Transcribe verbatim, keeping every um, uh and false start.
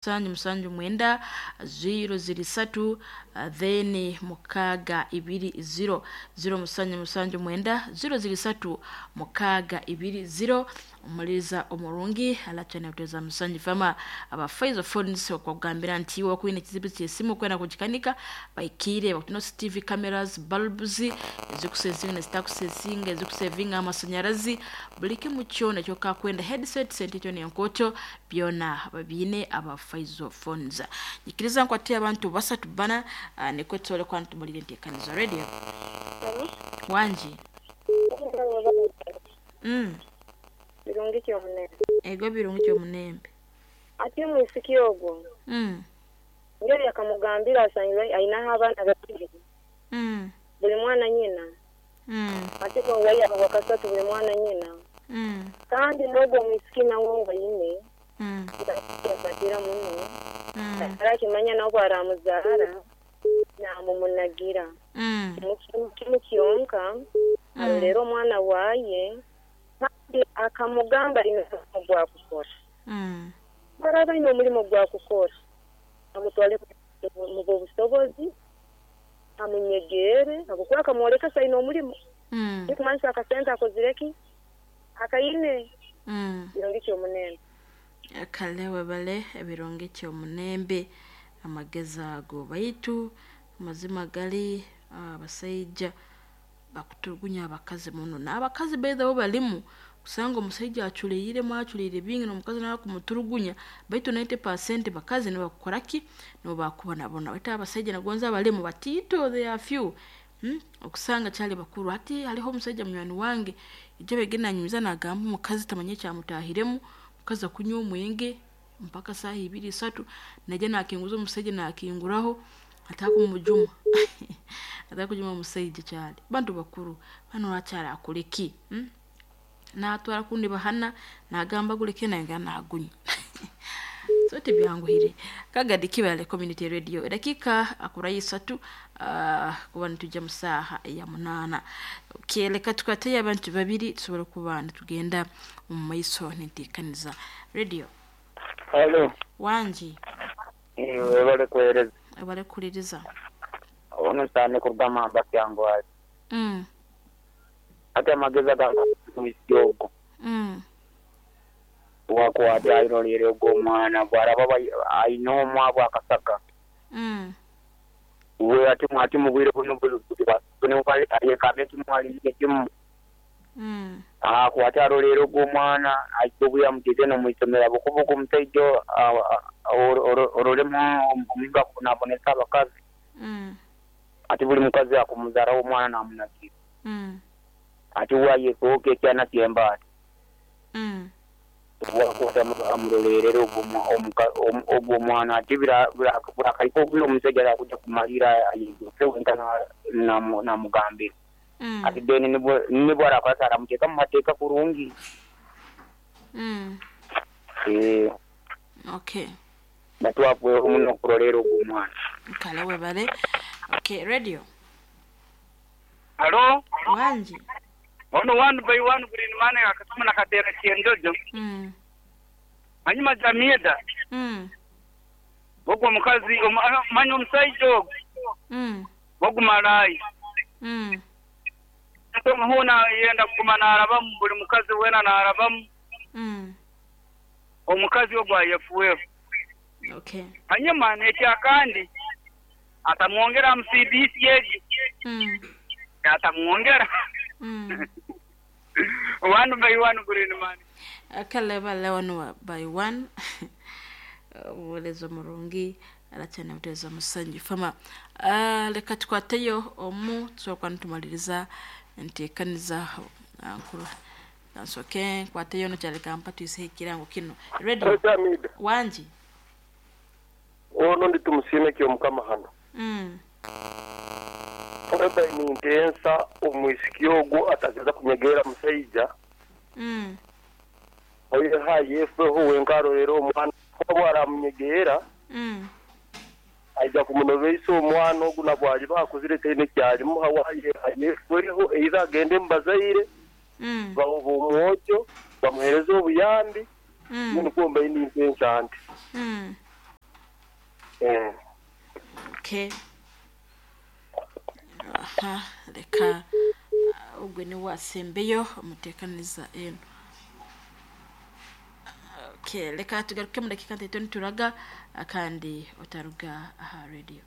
Musanju musanju mwenda ziro ziri satu then mukaaga ibiri ziro ziro musanju musanju mwenda ziro ziri satu mukaaga ibiri ziro. Omuliriza omurungi alachana kuteza musanju fama aba Faizo Phones okugambira nti iwe okwine ekizibu ky'esimu okwenda kugikanika baikire bakutina C C T V cameras, bulbs ezikusevinga nezitakusevinga, ezikusevinga amasanyarazi, buli kimu kyona ekyokakwenda, headset sente kyona enkoto byona babiine aba Faizo Phones. Nyikiriza nkwate abantu basatu bana uh, nikwo tusobole kuba nitumulira enteekanizo. Radio, wangi mm. Birungi kyomunembe. Ego, birungi kyomunembe. Ate omwisiki ogwo mm. ngeri akamugambira asangire ainaho abaana babiri, mm. buli mwana nyina, mm. ate bwawaya wakasatu buli mwana nyina, mm. kandi n'ogwo omwisiki nawe ngo aine mm. yafatira muno, mm. arakimanya nawe bwaramuzaara namumunagira mm. kimu kimu kyonka arolera omwana waye kandi akamugamba alina omulimu gwakukora, mm. araba alina omulimu gwakukora amutwale mu busobozi amunyegere habwokuba akamworeka se aine omulimu, mm. nikumanyisa akasente akozireki akaine. mm. Birungi kyomunembe. Kale webale, ebirungi kyomunembe amagezi ago. Baitu amazima gali abasaija bakuturugunya abakazi muno, n'abakazi baithawe balimu kusanga omusaija aculeiremu, aculeire bingi, n'omukazi nawe akumuturugunya, baitu ninety percent bakazi nibakukoraki, nibo bakubonabona, baitu abasaija nagonza abalimu batiito, they are few, hmm? Okusanga kyali bakuru. Hati haliho omusaija munywani wange ijja begenda nanyumiza nagamba omukazi tamanya ekyamutahiremu, omukazi akunywa omwenge mpaka saaha ibiri isatu, najja nakinguza omusaija nakinguraho atakumujuma, atakujuma omusaija. Kyali bantu bakuru bano, lwaki akuleki, hmm? Natwara kundi bahana nagamba guleke nayongera nagunywa, so tibyanguhire. Kagadi Kibale Community Radio, edakika akura isatu uh, kuba nitujja mu saaha ya munaana. Okay, leka tukwateyo abantu babiri tusobole kuba nitugenda omu maiso ninteekaniza. Radio. Halo. Wangi. Webale kuhereza. Webale kukuliriza. Ono cyane kurugamba kyangwali. mm. Ate amagezi agaisyogo mm. wakwata airolere ogwo omwana bwaraba aine omwabo akasaka, mm. we ati ati mubwire buno ayekame kimwalire kimu, mm. akwate arolere ogwo omwana aija obuya nomwisomero bukubuku omusaija ororemu omulingo akubonabonesa abakazi, mm. ati buli mukazi akumuzaraho omwana namunagira, mm. ati wayekooka ekyana kyembaati, mm. wakwata amurolerere ogwo omwana, ati burakaika obwire omusajja arakuja kumalira ayegese wenka namugambira, mm. ati then nibwo arakwasa aramuteeka mu mateeka kurungi. mm. Eh, okay natwafweho muno okurolera ogwo omwana. Kale webale. Okay, radio. Halo, wangi. Ono one by one green man akasoma na katera kyenjojo. mm. Hanyuma jamida mm. ogwo omukazi manya omusaija ogwo, mm. ogwo malayi, mm. huna yenda kuguma narabamu buli mukazi wena narabamu, mm. omukazi ogwo ayefuweho. Okay hanyuma nekyakandi atamwongera mu C B C egi, mm. atamwongera. mm. One by one green man. Kale bale, one by one. Obuweereza murungi aracyane muteza musanju fama. uh, leka tukwateyo omu tusobola kuba nitumaliriza enteekaniza nkuru. Nsoke nkwateyo no kyaleka mpa tuiseho ekirango kino. Radio. Jamida. Wangi. Ono ndi tumusiime kyomukama hano. mm. Eba nintensa omwisiki ogwo atageza kunyegera musaija, mm. oye hayefeho wenka arorera omwana bwaramunyegera, mm. aija kumunobeisa omwana ogu nabwali bakuzire taine kyalimuha waye hayefweho either agende mubazaire, mm. bamuba omwojo bamuhereze obuyambi. mm. Nikuomba nintensa nti mm. Mm. Okay. Aha, reka ah, ogwe niwe asembeyo omuteekaniza eno. Okay, reka tugaruke mu dakiika ntaito nituraga ah, kandi otaruga aha radio.